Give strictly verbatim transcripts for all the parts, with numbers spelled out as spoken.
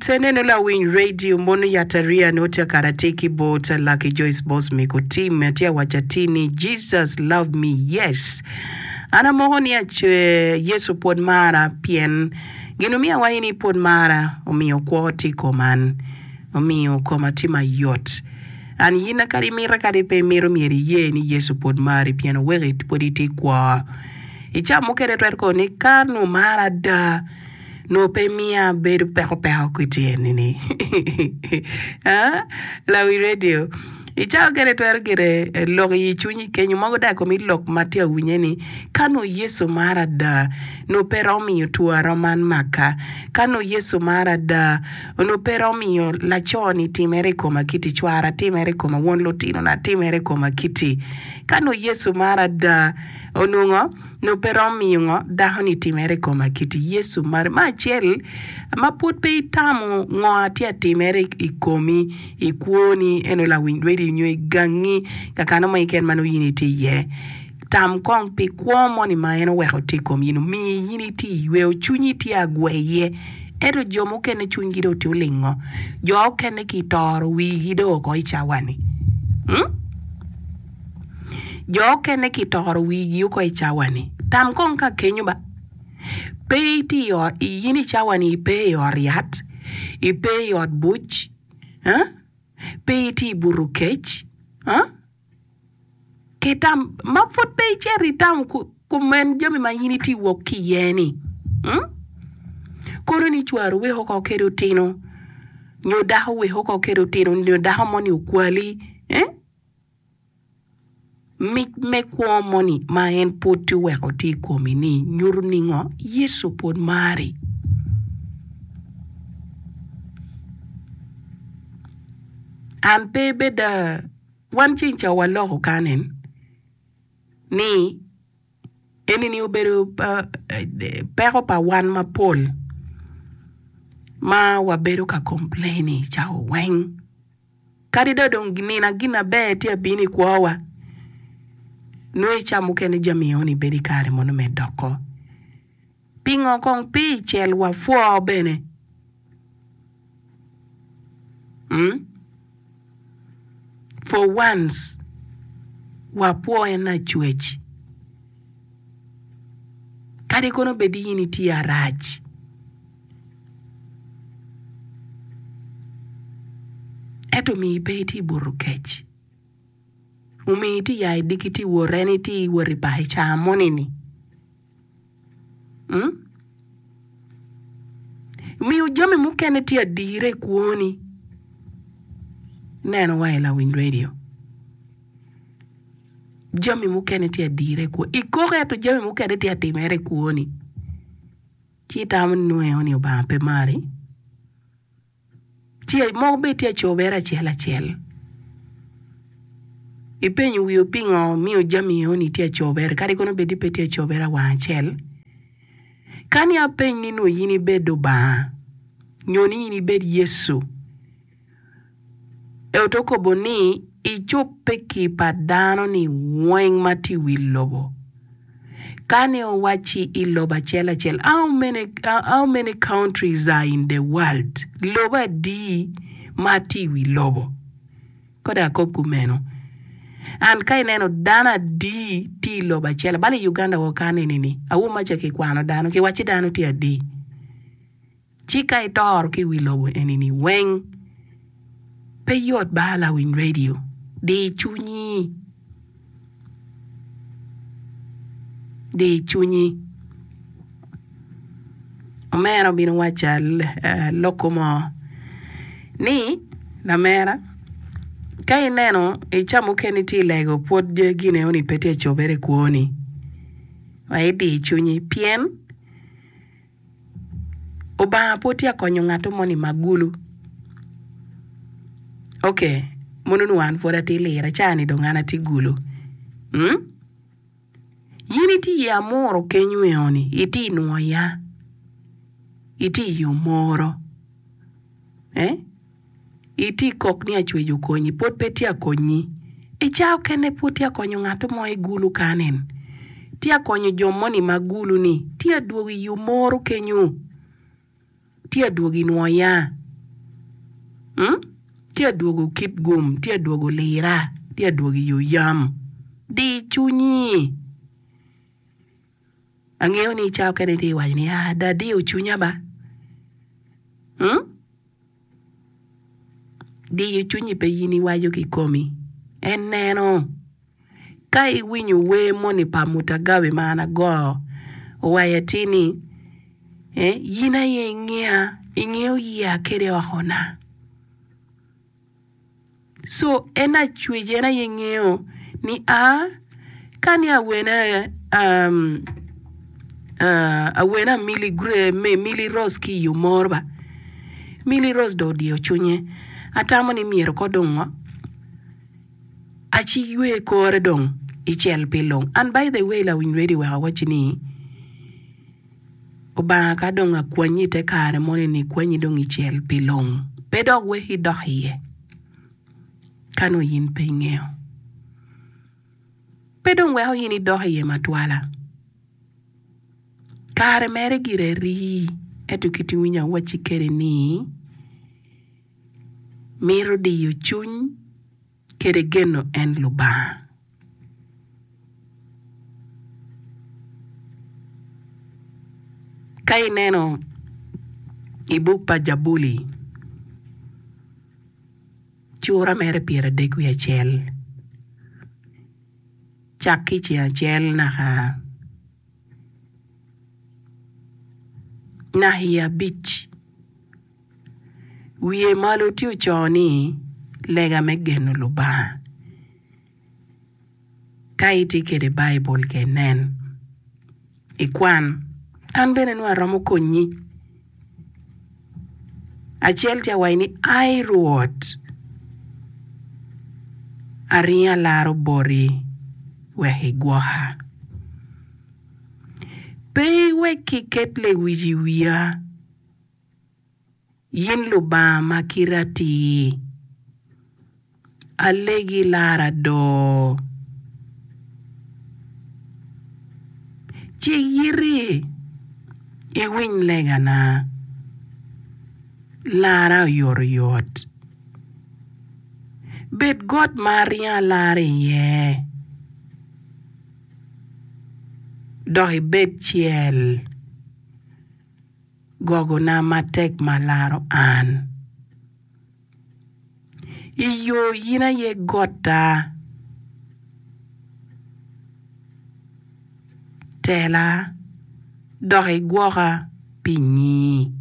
Neno lawiny radio mono yatariya nongo tye kara tye ki bot Lucky Joyce Boss Miko Team tye awaco atir ni Jesus love me yes an amoko ni Yecu pwod mara pien gin omiyo awaco ni pwod mara omiyo kwo tye i kom an omiyo koma tye mayot an in kadi imito kadi pe imito myero iye ni Yecu pwod mari pien oweko pwod itye kwo i cawa mukene twero kono ni ka nongo mara ada Nongo pe miya abedo peko peko kwiti eni ni. Lawi radio, i cawa kene twero gire lok i cwinyi kenyo mogo dok i komi lok ma tye awinye ni ka nongo Yecu mara ada nongo pe romo miyo two arom man maka. Ka nongo Yecu mara ada onongo pe romo miyo laco ni timere i koma kiti, cwara timere i koma, won lutinona timere i koma kiti. Ka nongo Yecu mara ada onongo Nongo pe romo miyo ngo dako ni timere i koma kiti Yecu mari. Me acel, ma pwod pe itamo ngo atye atimere i komi, i kwoni, eno lawiny lwedi nyo i gangi, kakano mo keken ma nongo in itye iye, tam kong pi kwo moni ma en oweko tye i kom in, omiyi in itye i yweyo, cwinyi tye agweye. Ento jo mukene cwinygi dong tye olingo, jo okene kitoro wigi dong oko i cawa-ni. Jo okene kitoro wigi oko i cawa-ni. Tam kong ka kenyo ba, pe itye i ot, in i cawa-ni ipe i ot yat, ipe i ot buc, pe itye i buto kec, ki tam ma pud pe icito itamo kumen jami ma in itye wok ki iye-ni. Kono ni cwari weko oko kede otino, nyo dako weko oko kede otino, nyo dako moni okwali. Mic me kwo moni ma en pwod tye oweko tye i komi-ni nyuto ningo Yecu pwod mari? An pe beda wan ceng ca waloko kan-ni ni Eni-ni obedo peko pa wan mapol ma wabedo ka complain cawa weng. Kadi dong dong nino gin maber tye abino i kwowa, nongo i ca mukene jami eni bedo i kare mono me doko. Pingo kong pe i cel wapwo bene? Mm? For once, wapwo en Lacwec. Kadi kono bed ni in itye arac, ento omiyi pe itye i buto kec. Omiyi itye ya i diki itye wot en itye wot i bar i caa moni-ni. Miyo jami mukene tye adira i kwoni. Ineno wa i lawiny redio, jami mukene tye adira i kwoni. Ikoko ento jami mukene tye atimere i kwoni. Ci itamo ni nongo ni Lubanga pe mari. Ci mogo bene tye acobere acel acel. Ipenyo wiu pingo miyo jami eni tye acobere kadi kono bed ni pe tye acobere awang acel. Ka ni apeny ni nongo in ibed Lubanga nyo ni in ibed Yecu, ento okobo ni icobbe ki pa dano ni weng ma tye i wi lobo. Ka ni owacci i lobo acel acel, how many, how many countries are in the world? Lobo adi ma tye i wi lobo? Kodi akob kumeno. And ka ineno dano adi tye i lobo acel, balo i Uganda wa kan eni ni, awo maca kikwano dano, kiwacci dano tye adi. Ci ka itoro ki i wi lobo eni-ni weng, pe yot ba lawiny redio, di cwinyi, di cwinyi. Omera obino wacca lokko mo ni, Lamera, ka ineno i ca mukene itye i lego pwod gin enoni pe tye ka cobere i kwoni, wek idi cwinyi pien Obanga pwod tye ka konyo ngat moni ma gulu. Ok, mono onongo an pwod atye lira, ca-ni dong an atye gulu. Mm? In itye i amuro kenyo eno-ni, itye i nwoya, itye i omoro. Eh? Itye i kok ni acwec okonyi, pwod pe tye akonyi. I cawa okene pwod tye akonyo ngat mo i gulu kanin. Tye akonyo jo moni ma gulu ni tye adwogo i omoro kenyo. Tye adwogo i nwoya. Mm? Tye adwogo kit gum, tye adwogo lira, tye adwogo i oyam. Di cwinyi. Angeyo ni ca okene itye iwaco ni, ah, da adiyo cwinya ba. Mm? Diyo cwinyi pe in iwaco kikomi. En neno. Ka iwinyo wer moni pa Mutagawi ma an ago, owaco atir ni, eh, in aye ingeya, ingeyo yiya kede okona. So en acwec en aye ngeyo ni a ka ni awene um, uh, awene Amili Gre, Mili Rose ki i Omoro ba. Mili Rose dong odiyo cwinye. Atamo ni myero ko dong ngo aci ywe kore dong icel pi lung. And by the way lawiny radio wek awacci ni Obanga ka dong akwanyi i te kare moni ni kwanyi dong icel pi lung pe dok weki idok iye ka nongo in pe ingeyo. Pe dong weko in idok iye matwala. Kare mere gire rii ento kit iwinyo awacci kede ni mito diyo cwiny kede geno en Lubanga. Ka ineno i buk pa Jabuli, cura mere pyeradek wiye acel, cak ki i ceng acel naka naka i abic. Wiye malo tye oco ni, Lega me geno Lubanga. Ka itye kwede Baibul ke inen, ikwan. An bene nongo aromo konyi. Acel tye awaci ni, Ai Rwot, aringo alaro boti wek igwoka. Pe iwek kiket lewic i wiya. In Lubanga ma kite atir, alegi lara do. Cik iti iwiny legana, lara oyotoyot. Bed got ma aringo alara iye, dok ibed cel. Gogona matek ma laro an. I yo in aye gotta, tela dok igwoka pi nyingi.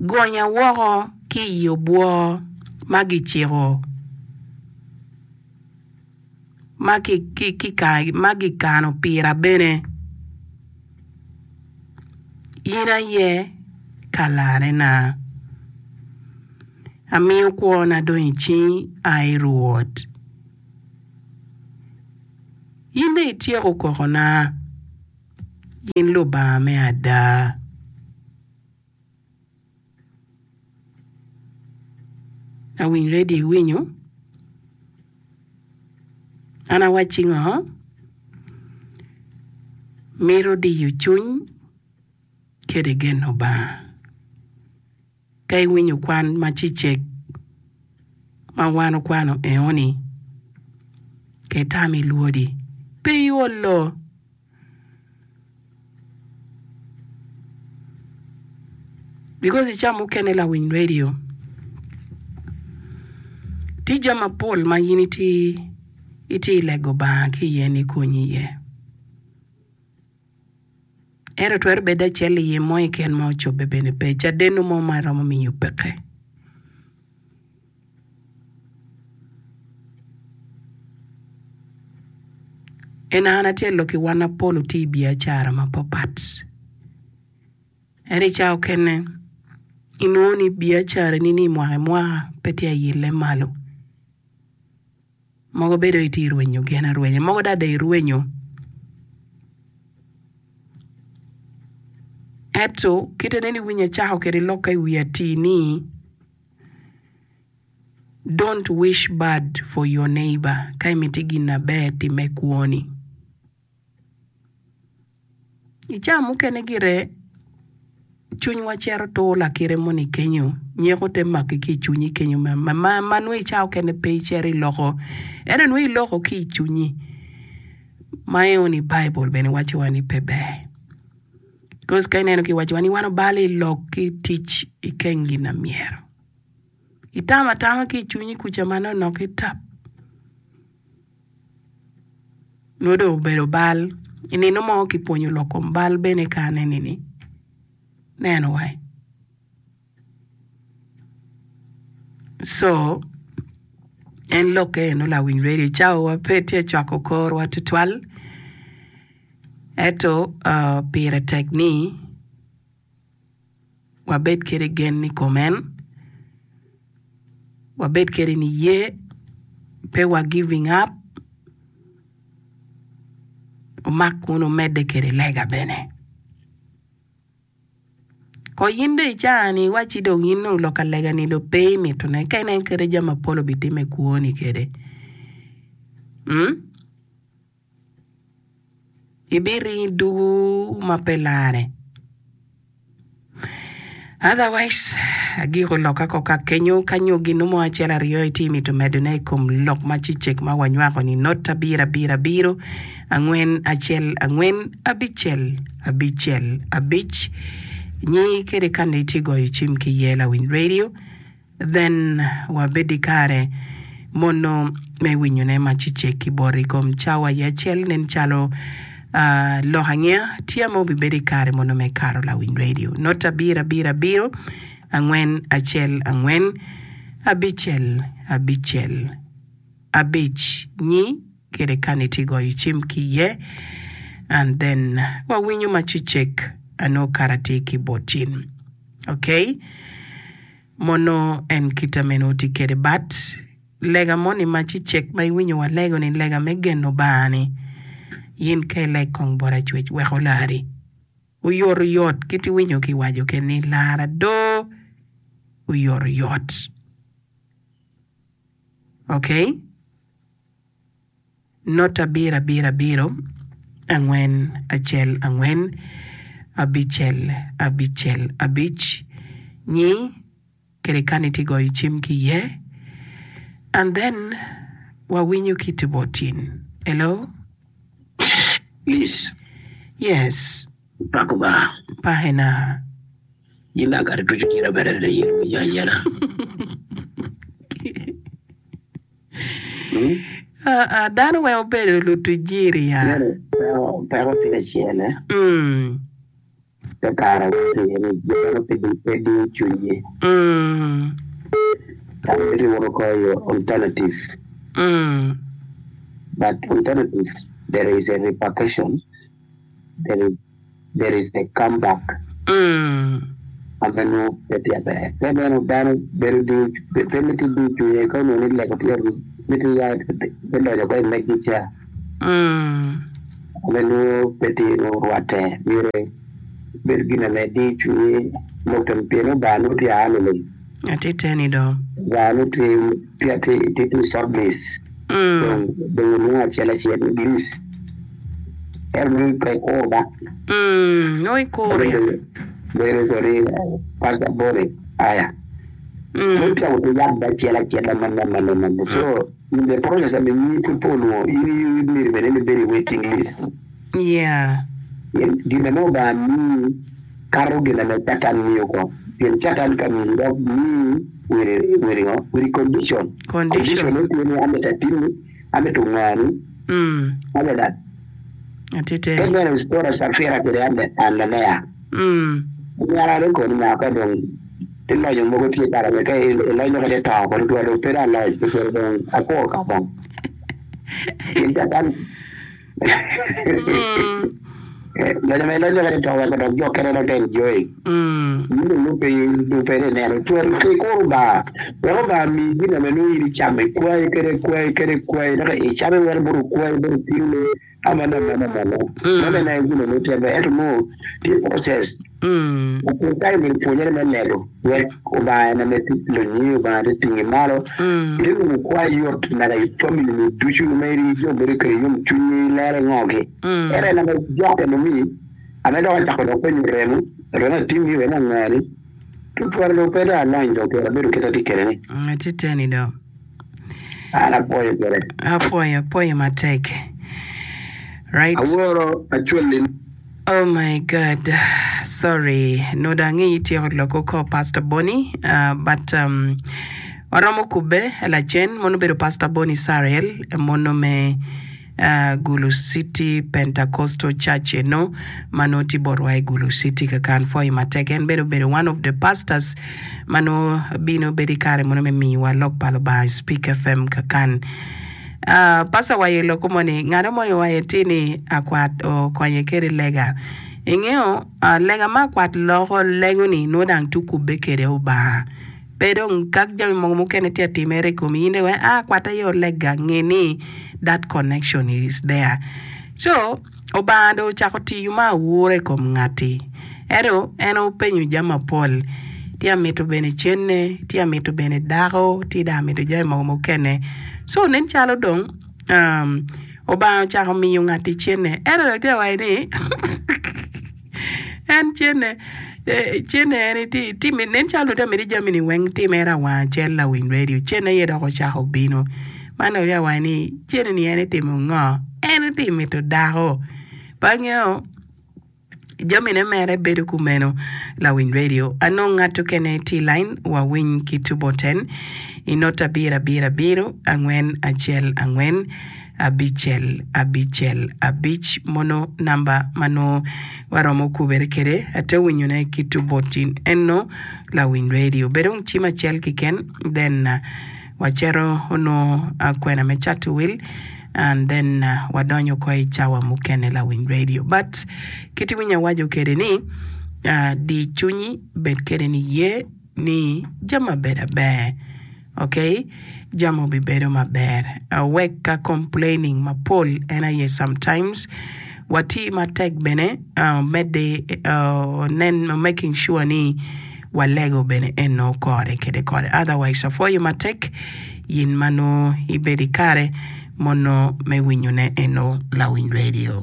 Gonya woko ki i obwo ma giciko ma gikano pira bene. In aye kalarrena. Amiyo kwona dong i cingi, ai Rwot. In dong ityeko kokona, in Lubanga me ada. Awiny redio iwinyo? An awacci ngo? Mito diyo cwiny kede geno Lubanga. Ka iwinyo kwan ma cicek ma wan okwano enoni, ke tam ilwodi, pe iolo. Because i ca mukene lawiny radio tye jami mapol ma in itye itye i lego Banga ki iye ni konyi iye. Ento twero bedo acel iye mo keken ma ocobbe bene pe, cadenno mo ma romo miyo peke. En an atye lok i wan apol otiyo i biacara mapapat. Ento i cawa okene inongo ni biacarani ni mwaka ki mwaka pe tye ayelle malo. Mogo bedo itye rwenyo gin arwenya, mogo dong adada irwenyo. Ento kite nene iwinyo acako kwede lokka i wi atir ni, Don't wish bad for your neighbor ka imiti gin aber timme kwoni. I cawa mukene gire Cwinywa cito tur lakite moni kenyo, nyeko te maki ki i cwinyi kenyo ma, ma, ma, ma nongo i cawa okene pe icito iloko, ento nongo iloko ki i cwinyi. Ma eno ni Baibul bene wacowa ni pe ber. Because ka ineno kiwacowa ni wan obalo i lok ki tic i keng gin na myero. Itamo atama ki i cwinyi kuca manonok ki tap. Nongo dong obedo bal. I nino mo kipwonyo lok kom bal bene ka aneni-ni, neno wai. So, en lokke eno lawiny radio cawa pe tye cwako korwa tutwal, ento uh, pire tek ni wabed kede gen i kom en, wabed kede niye, pe wa giving up, wumak wunu wumedde kede lega bene. Ko in dong i caa-ni iwacci dong in dong lok ka lega-ni dong pe imitone ka inen kede jami mapol obitime i kwoni kede. Mm? Ibiringo idugu ma pe larre. Otherwise, agiko lokka ko ka kenyo ka nyo gin mo acel aryo itye mito medone i kom lok ma cicek ma wanywako ni not abiro abiro abiro angwen acel angwen abicel abicel abic nyi kede kande itye goyo cim ki iye lawiny radio. Then wabed i kare mono me winyone ma cicek ki boti i kom cawa i acel nen calo lok angeya tye ma obibedo i kare mono me kato lawiny radio not abiro abiro abiro angwen acel angwen abicel abicel abic nyi kede kani tye goyo cim ki iye and then wawinyo ma cicek anongo kara tye ki bot cin okay. Mono en kite meno tye kwede but lega moni ma cicek ma iwinyo walego ni lega me geno Banga ni in ka ileg kong bot Acwec wek olari oyot oyot kit iwinyo ki waco kede ni lara do oyot oyot ok not abiro abiro abiro angwen acel angwen abicel abicel abic nyi kede kani itye goyo cim ki iye and then wawinyo ki tye bot tin hello Please, yes pako ba. Pahenaha. In dang kare ducu tira bene adada in iwinyo ayela. Aa, dano weng obedo lutuc jiri ya. Nene, peko, peko tye acel eh. Mm. Te kare wa tye iye ni dano pe di, pe diyo cwinygi. Mm. Dano miti woto ko i alternative. Mm. But alternative there is a repercussion, there is there is a come back ma pe nongo pe tye aber. Pe neno dano bedo diyo pe miti diyo cwinye ka onongo ni lego tye miti ya me donyo ko i megi ca ma nongo pe tye nongo rwatte myero bedo gin ame diyo cwinye lok temo pien Lubanga nongo tye aa liling. Atite ni do. Lubanga nongo tye tye tye tye i short list dong dong onongo acel acel list. Ento nongo pe ikur ba. Mm, nongo ikur ya. Bedo kodi Pastor Bonnie aya. Mm. Nongo tyeko ki yat acel acel manne manne manne. So in the process ame nyingi pud pe olwongo in in myero bene ni ibedo i waiting list. Yeah. Pien gin ame Lubanga miyi kato gin ame Catan miyo ko. Pien Catan ka miyi dok miyi with with ngo? With condition. Condition. Condition ne tye ni amito atinni. Amito ngani Mm. adada. Atiteni. Pe bene Cipora, Cafira kede Anania. Mm. Nyara ni koni nyaka ka dong ti lonyo mogo tye kara me ka ilonyo kede to kodi twal dong pe dong aloc pe twero dong akwo ka bong. Pien catan Mm. lonyo ma ilonyo kede to weko dok jo kene dok te enjoy. Mm. In dong nongo pe dong pe ineno twero pe ikuro Lubanga wek Lubanga omiyi gin ame nongo in icamo ikwayi kede kwayi kede kwayi dok icame wek bot okwayi bot otinone amano amano amano Mm. meno en aye gin ame tye ber ento nongo tye process Mm. pol kare myero ipwonyere me lego wek Lubanga en ame tye lonyi Lubanga tye tingi malo Mm. ite nongo kwayi yot naka i family ni ducu ma iri jo bedo kede yomcwiny ilere ngo gi Mm. ento en ame jokke nongo Ame dok acako dok penyo remo, remo atimmi, remo angani. Tutwal dong pe dong alony dong pire abedo kit atye kwede ni. Atye teni dong. An apwoyo kwede. Apwoyo, apwoyo matek. Right. Aworo acwali. Oh my God, sorry. Nongo dong angeyo ityeko lok oko Pastor Bonnie, uh, but um, waromo kubbe lacen. Mono obedo Pastor Bonnie Sariel, mono me uh, Gulu City Pentecostal Church eno ma nongo tye botwa i Gulu City kakan. Pwoyo matek. En bene obedo one of the pastors ma nongo bino bedo i kare mono me miyowa lok pa Lubanga i Speak F M kakan. Uh, pastor waye loko moni ngano moni waye tye ni akwat okonye kede lega ingeo uh, lega ma akwat loko lego ni nongo dang tye okubbe kede Obanga pe dong kak jami mogo mukene tye atimere i komi in dong ah akwat aye olega nge ni that connection is there. So Obanga dong ocako tiyo ma awura i kom ngati ento en openyo jami mapol tye amito bene cene tye amito bene dako tye dong amito jami mogo mukene. So nen calo dong um, Obanga ocako miyo ngati cene ento dong tye awaco ni en cene eh, cene en ti timi nen calo dong tye amito jami ni weng timere awang acel lawiny radio cene aye dok ocako bino man dong tye awaco ni cene ni en itimo ngo en tye mito dako pe angeyo jamine mere bedo kumeno. Lawiny radio anong ngat okene tye i line wawiny ki tubo ten i not abiro abiro abiro angwen acel angwen abicel abicel abic mono namba ma nongo waromo kubere kede ate winyone ki tubo tin eno lawiny radio bedo cim acel kiken then uh, wacito onongo uh, kwena me cato wil and then uh, wadonyo ko i cawa mukene lawiny radio. But kiti winyo awaco kede ni uh, di cunyi bed kede ni ye ni jami maber aber okay jami obibedo maber uh, wek ka complaining mapol en aye sometimes wati matek bene uh, medde uh, nen making sure ni walego bene eno kore kede kore. Otherwise apwoyo matek yin ma nongo ibedo i kare mono me winyone eno lawiny radio.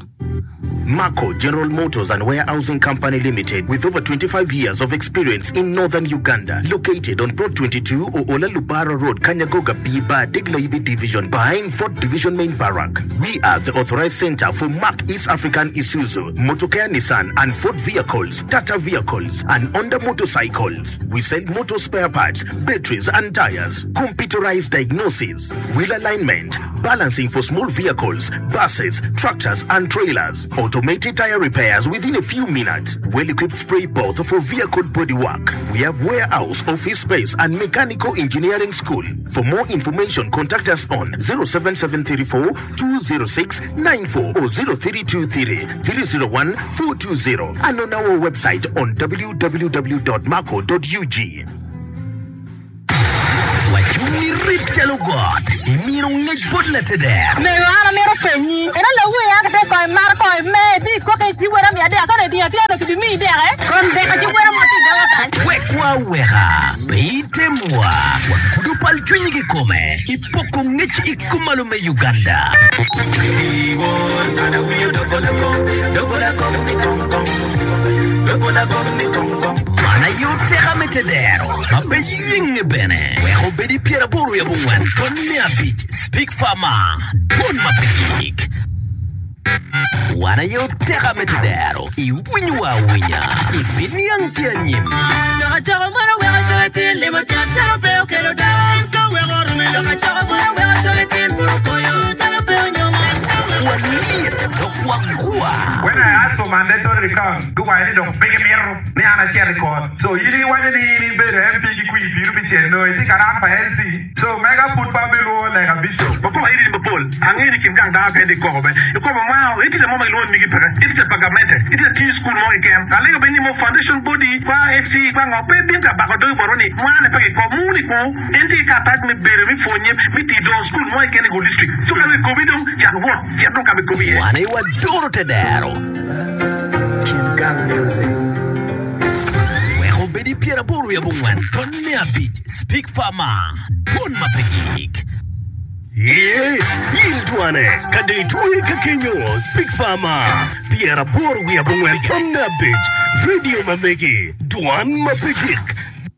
Marco General Motors and Warehousing Company Limited, with over twenty-five years of experience in northern Uganda, located on Plot twenty-two, Oola Lubara Road, Kanyagoga B, Bar, Degla Division, behind Fort Division Main Barrack. We are the authorized center for Mark East African Isuzu, Motokea Nissan and Ford vehicles, Tata vehicles, and Honda motorcycles. We sell motor spare parts, batteries and tires, computerized diagnosis, wheel alignment, balancing for small vehicles, buses, tractors and trailers, automated tire repairs within a few minutes, well-equipped spray booth for vehicle bodywork. We have warehouse, office space and mechanical engineering school. For more information, contact us on zero seven seven three four two zero six nine four or zero three two three three zero one four two zero and on our website on w w w dot marco dot u g. Wacung rit calo got imino ngec bot lateder. Mego an amito penyi eno lawi a kite ko imaro ko ime bi koke ci wera mi adek kane tinga tye no kibi mi deke kon deke ci wera mo ti dawa kan. Wekwa weka pe itemwa wagudo pal cwinyi kikome ipoko ngec i kumalo me Uganda. Iwon ana winyo dogola kong dogola kong ni kong kong dogola kong ni kong kong. Mana yo teka me tedero ma pe yenge bene weko bedi pyeraboro ya bongwen ton me abic Speak Farmer don ma pe gik wan aye oteka me tedero iwinyo wa awinya ibiniang ki anyim. Lok acoko mono weko coge tin limo cat calo pe okelo dawa ka weko rume lok acoko mono weko coge tin buru koyo calo pe onyomo. Walit dok wagwa. When I asked for mandatory recount, guwaco ni dong pe gimito ni an acit i kot. So in iwaco ni in ibedo M P ki kwir piru pi cen no itye ka rak pa L C. So mega pud pa bilwongo leka bishop. Mapol iri mapol angeyo ni kin gang dano kende ikoko be ikobo ma itye mo ma gilwongo ni migi peke itye pa gamente itye tiyo school mo keken alego be ni mo foundation body kwa F C kwa ngo pe bin ka bako dogi botwa ni mwane pe kiko muni ku en tye ki karatac me bedo me pwonye me tiyo dongo school mo keken i Gulu district so ka ikobi dong cak wot cit dong ka ma ikobi iye. Wan aye wadoro tedero. Kin Gang Music. Weko bedi pyeraboro ya bongwen ton me abic Speak Farmer don ma pe gik. Ye, in dwane, ka dong itwe ka kenyo, Speak Farmer, pyeraboro wiye abongwen tonne abic, radio ma megi, dwan ma pe gik.